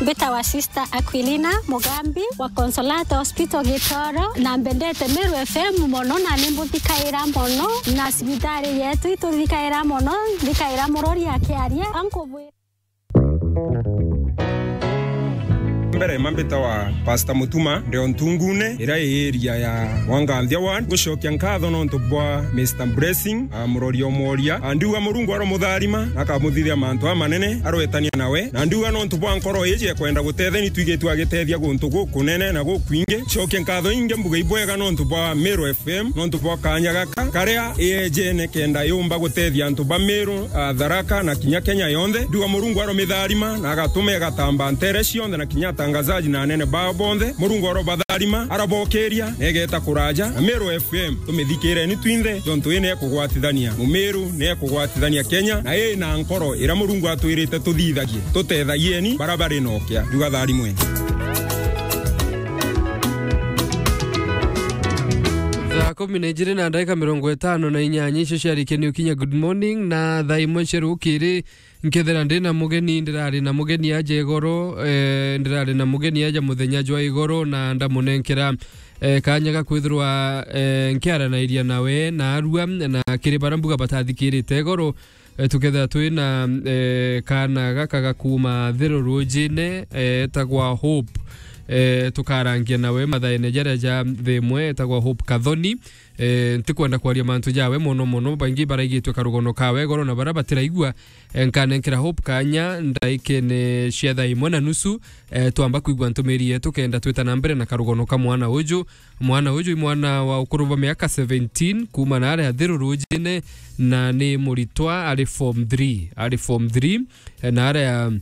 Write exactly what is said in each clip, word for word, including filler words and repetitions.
Mbitawa Sister Aquilina Mugambi wa Consolata Hospital Gitoro, na mbendete Meru F M mono, na nimbuthikaira mono, na cibitari yetu ituthikaira mono, nthikaira murori akiaria, ankubwira. Mbere mambitawa Pastor Mutuma, ndio Ntungune, ira i area ya Wanganthia Ward. Ngucokia nkatho nontu bwa Mister Blessing, a, murori o mworia. A, ndiuga Murungu aromutharima, akamuthithia mantu amanene, arwetania nawe. Na ndiuga nontu bwa nkoro iji ekwenda gutetheni, twigitwe agitethia guntu gukunene na gukwingi. Cokia nkatho ingi mbuga ibwega nontu bwa Meru F M, nontu bwa kanya gaka, karia iyejene kenda yumba gutethia antu ba Meru, a, Tharaka na kinya Kenya yonthe. Ndiuga Murungu aromitharima na agatuma igatamba ntere cionthe na kinya atangazaji na anene bao bonthe. Murungu arobatharima, arabokiria, na igeta kuraja. Na Meru F M, tumithikireni twinthe, jontu ii ni ekugwatithania Mumiru, ni ekugwatithania Kenya, na ii na nkoro ira Murungu atwirite tuthithagie. Tutethagieni bara bari nokia. Ndiuga tharimweni. Thaa kumi na ijiri na ndagika mirongo itano na inyanya icio ciarikia ni ukinya Good Morning, na thaa imwe cia rukiri nkethira ndi na mugeni, ndirari na mugeni aja igoro, eh, ndirari na mugeni aja muthenya jwa igoro, na ndamunenkera, eh, kanya ga kwithirwa, eh, nkiaranairia nawe na arua, na kiri bara mbuga batathikirite igoro, eh, tukethira twi na, eh, kaana gaka ga kuuma Thiru Rujine, eh, etagwa Hope. Eh, tukarangia nawe mathaene jaria ja thaa imwe, etagwa Hope Kathoni. Eh, ntikwenda kwaria mantu jawe mono mono, baingi baraigitwe karugono kawe igoro, na bara batiraigua, eh, nkanenkera Hope kanya ndaikene cia thaa imwe na nusu, eh, twamba kwigua ntumiri yetu kenda twita na mbere na karugono ka mwana uju. Mwana uju i mwana wa ukuru bwa miaka seventeen, kuuma na aria Thiru Rujine, na ni muritwa ari form three, ari form three, eh, na aria,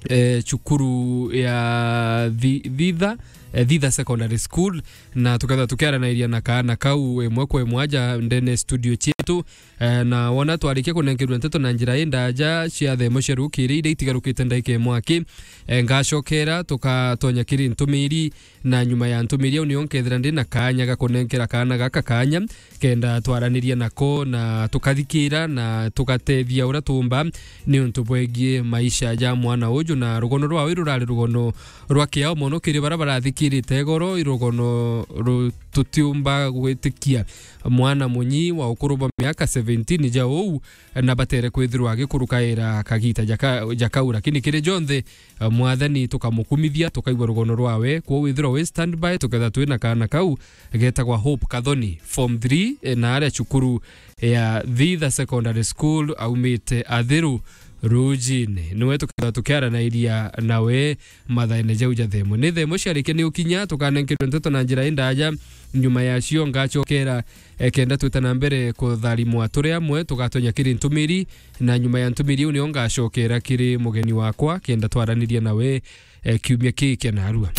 eh, cukuru ya Thi-, Thitha, eh, Thitha Secondary School, na tukethira tukiaranairia na kaana kau imwe kwa imwe aja ndene studio cietu. Eh, na wona twarikia kunenkerua nteto na njira indaja cia thaa imwe cia rukiri iria itigarukite ndaika imwe aki, eh, ngacokera tukatonya kiri ntumiri, na nyuma ya ntumiri au nio nkethira ndi na kanya ga kunenkera kaana gaka kanya kenda twaraniria nako na tukathikira na tugatethia uria tuumba niuntu bwegie maisha ja mwana uju, na rugono rwawe rurari rugono rwa kiao mono kiri bara barathikirite igoro, i rugono ru-, tutiumba gwitikia mwana munyi wa ukuru bwa miaka seventeen ja uu na batere kwithirwa agikurukaira kagita jaka-, jakau, lakini kiri jonthe, eh, Mwathani tukamukumithia, tukaigua rugono rwawe. Kwou withirwa wi standby, tuketha twi na kaana kau getagwa Hope Kathoni, form three, eh, na aria cukuru ya Thitha Secondary School, aumite Athiru Rujine. Niwe tuketha tukiaranairia nawe mathaene jau ja thaa imwe. Ni thaa imwe ciarikia ni ukinya, tukanenkerwe nteto na njira indaja. Nyuma yacio ngacokera, eh, kenda twita na mbere kutharimwa turi amwe, tugatonya kiri ntumiri, na nyuma ya ntumiri iu nio ngacokera kiri mugeni wakwa, kenda twaraniria nawe, eh, kiumia kii kia narua.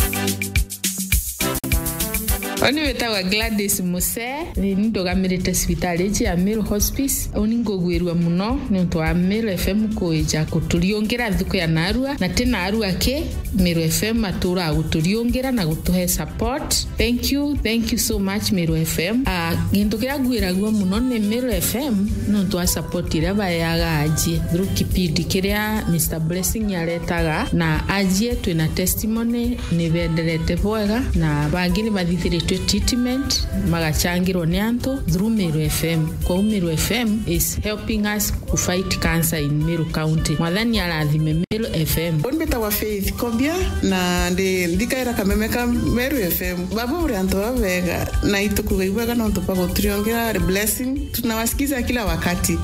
Oni witagwa Gladys Muse, ni ndugamirite cibitari iji ya Meru Hospice. Uni ngugwirua muno niuntu wa Meru F M kuija kuturiungira nthuku ya narua, na ti narua ki, Meru F M atura guturiungira na gutuhe support. Thank you, thank you so much, Meru F M. Ah, gintu kiria ngwiragua muno ni Meru F M niuntu wa support iria baeaga ajie through kipindi kiria Mister Blessing aretaga, na ajie twina testimony ni benderete bwega, na bangi ni bathithiritwe treatment, magachangirwa ni antu through Meru F M. Kwou Meru F M is helping us to fight cancer in Meru County. Mwathani arathime Meru F M. Uni mbitagwa Faith Kobia, na ndi, ndikaira kameme ka Meru F M. Baba uri antu baba bega, na itukuga ibwega nontu bwa guturiongera blessing. Tunawasikiza kila wakati.